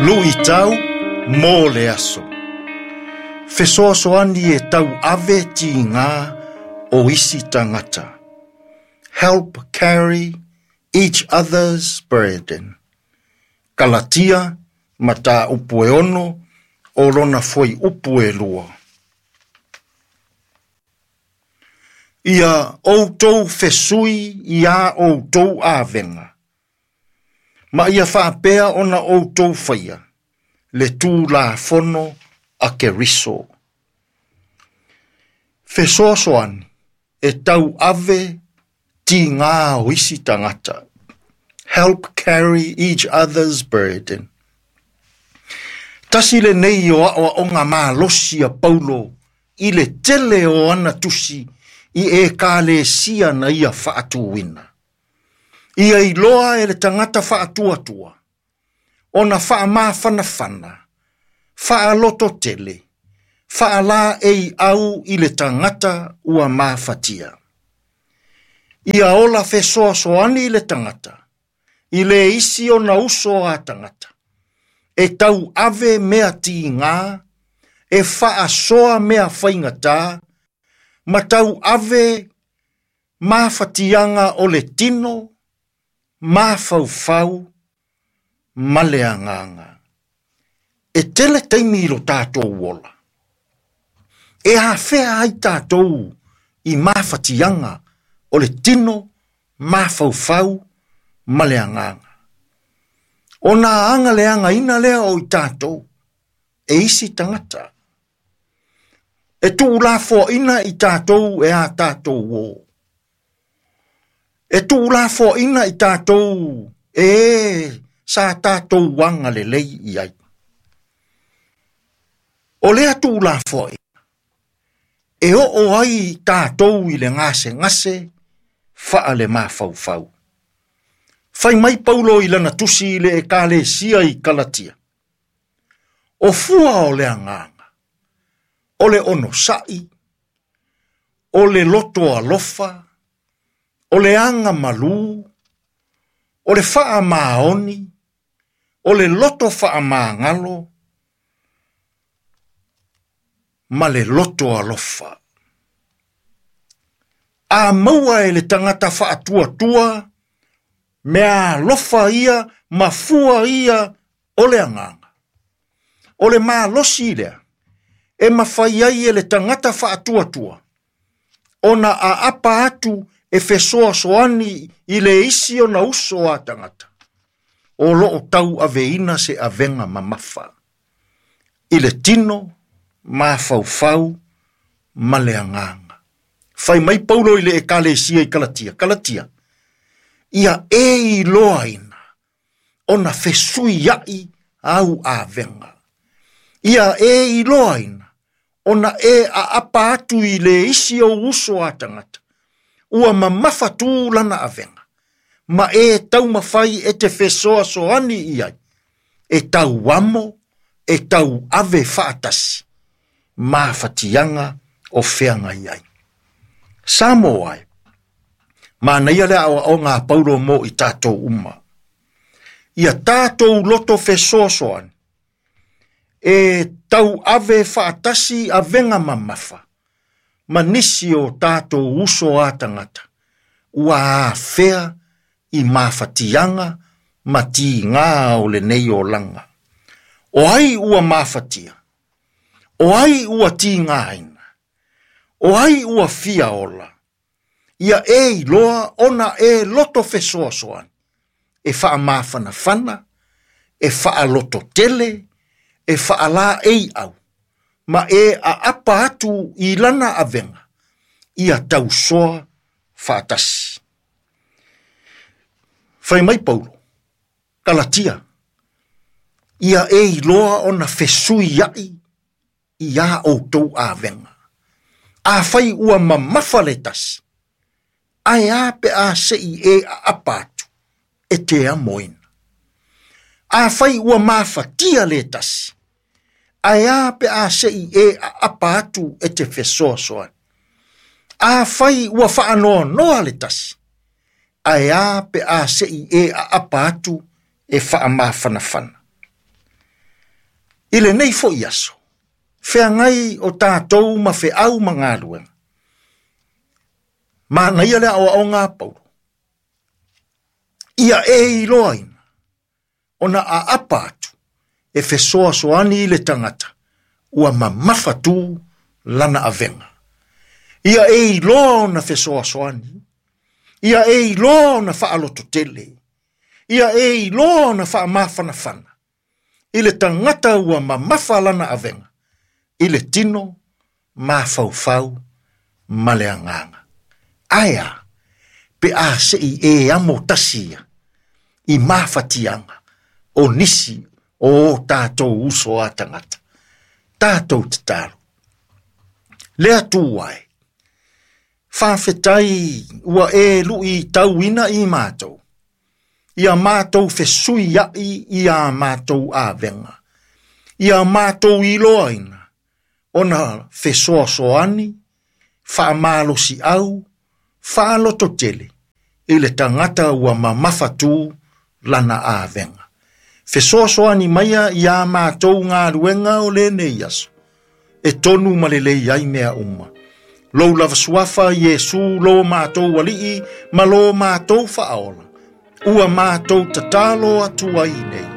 Luitau mo le aso. Fesoasoani e tauave tigā o isi tagata. Help carry each other's burden. Kalatia, mataupu e 6, o lona fuaiupu e 2. Ia outou fesui i a outou avega. Ma ia faapea ona outou faia, le Tulafono a Keriso. Fesoasoani e tauave tigā o isi tagata. Help carry each other's burden. Tasi lenei o aoaoga malosi a Paulo i le tele o ana tusi i ekalesia na ia faatuina. Ia iloa e le tagata faatuatua, ona faamafanafana, faalototele, faalaeiau i le tagata ua mafatia. Ia ola fesoasoani i le tagata, i le isi ona uso a tagata, e tauave mea tigā, e faasoa mea faigata, ma tauave mafatiaga o le tino, mafaufau, ma le agaga. E tele taimi i lo tatou ola. E afea ai tatou i mafatiaga o le tino, mafaufau, ma le agaga. Ona aga leagaina lea o i tatou, e isi tagata. E tuulafoaina i tatou e a tatou o. E tuulafoaina i tatou e sa tatou aga lelei i ai. O lea tuulafoaina, e oo ai tatou i le gasegase faale mafaufau. Fai mai Paulo i lana tusi i le ekalesia i Kalatia. O fua o le agaga, o le onosai, o le loto alofa, o le aga malū, o le faamaoni, o le loto faamagalo, ma le loto alofa. A maua e le tagata faatuatua, mea alofa ia ma fua ia o le agaga. O le malosi lea, e mafai ai e le tagata faatuatua, ona aapa atu e fesoasoani i le isi ona uso a tagata. O loo tauaveina se avega mamafa. I le tino, mafaufau, ma le agaga. Fai mai Paulo i le ekalesia i Kalatia. Kalatia, ia e iloaina, ona fesuiai au avega. Ia e iloaina, ona e aapa atu i le isi o uso a tagata. Ua mamafa tu lana avega, ma e taumafai e te fesoasoani i ai, e tauamo, e tauave faatasi, mafatiaga o feagai ai. Samoa ai, manaia le aoaoga a Paulo mo i tatou uma. Ia tatou loto fesoasoani, e tauave faatasi avega mamafa, ma nisi o tatou uso a tagata, ua afea i mafatiaga ma tigā o lenei olaga. O ai ua mafatia? O ai ua tigāina? O ai ua fia ola? Ia e iloa ona e loto fesoasoani, e faamafanafana, e faalototele, e faalaeiau, ma e aapa atu i lana avega, ia tausoa faatasi. Fai mai Paulo, Kalatia, ia e iloa ona fesuiai i a outou avega. Afai ua mamafa le tasi, ae a pe a sei e aapa atu, e te amoina. Afai ua mafatia le tasi, ae a pe a sei e aapa atu e te fesoasoani. Afai ua faanoanoa le tasi, ae a pe a sei e aapa atu e faamafanafana. I lenei foi aso, feagai o tatou ma feau ma galuega. Manaia le aoaoga a Paulo. Ia e iloaina, ona aapa atu, e fesoasoani i le tagata, ua mamafa tu lana avega. Ia e iloa ona fesoasoani, ia e iloa ona faalototele, ia e iloa ona faamafanafana, i le tagata ua mamafa lana avega, i le tino, mafaufau, ma le agaga. Ae a, pe a se i e amo tasi ia, i mafatiaga o nisi o o tatou uso a tagata. Tatou tatalo. Le Atua e, faafetai ua e luitauina i matou, ia matou fesuiai i a matou avega, ia matou iloaina, ona fesoasoani, faamalosiau, faalototele, i le tagata ua mamafatu lana avega. Fesoasoani maia ia matou galuega o lenei aso, e tonu ma lelei ai mea uma. Lou lava suafa Iesu lo matou alii ma lo matou faaola, ua matou tatalo atu ai nei.